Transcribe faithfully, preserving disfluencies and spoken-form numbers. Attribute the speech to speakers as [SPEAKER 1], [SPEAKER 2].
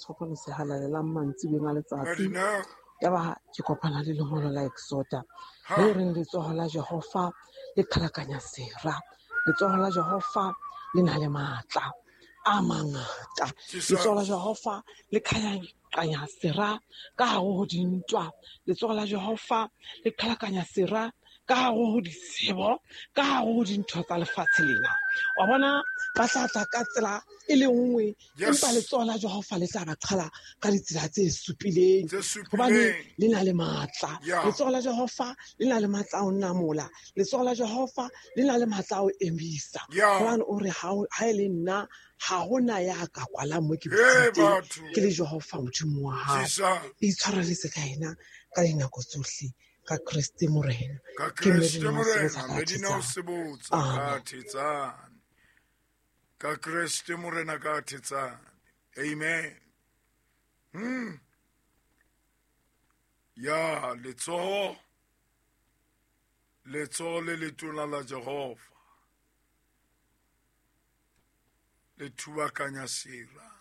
[SPEAKER 1] Sefapano se Halalelang mantsiboeng a letsatsi.
[SPEAKER 2] Madina.
[SPEAKER 1] Yaba ke kopana le lengolo la Exoda.
[SPEAKER 2] Ha.
[SPEAKER 1] Le reng letsoho la Jehova le qhalakanya sera. Letsoho la Jehova le na le matla a mangata.
[SPEAKER 2] Jesus.
[SPEAKER 1] Letsoho la Jehova le qhalakanya sera ka hare ho dintwa. Letsoho la Jehova le qhalakanya sera ka hare ho disebo, ka hare ho dintho tsa lefatshe lena. Wa bona ba tla tla ka tsela e le nngwe,
[SPEAKER 2] Yes.
[SPEAKER 1] empa letsoho la Jehova le tla ba qhala ka ditsela tse supileng.
[SPEAKER 2] Tse supileng.
[SPEAKER 1] Hobane le na le matla.
[SPEAKER 2] Yeah.
[SPEAKER 1] Letsoho la Jehova le na le matla a ho namola. Letsoho la Jehova le na le matla a ho emisa.
[SPEAKER 2] Yeah.
[SPEAKER 1] Hobane o re ha o-, ha e le nna, ha hona ya ka kwalang mo ke
[SPEAKER 2] Hey,
[SPEAKER 1] dutseng teng.
[SPEAKER 2] batho.
[SPEAKER 1] Ke le Jehova Modimo wa hao.
[SPEAKER 2] Jesus.
[SPEAKER 1] Itshwareletse ka yena ka dinako tsohle. Ka Kreste Morena.
[SPEAKER 2] Ka
[SPEAKER 1] Ke
[SPEAKER 2] Kreste
[SPEAKER 1] Medina wa
[SPEAKER 2] Morena,
[SPEAKER 1] Sebotsa ka
[SPEAKER 2] Medina wa
[SPEAKER 1] Thetsane.
[SPEAKER 2] Sebotsa
[SPEAKER 1] Amen.
[SPEAKER 2] ka Thetsane. Ka Kreste Morena ka Thetsane. Amen. Hmm. Ya letsoho, letsoho le letona la Jehova le thubakanya sera.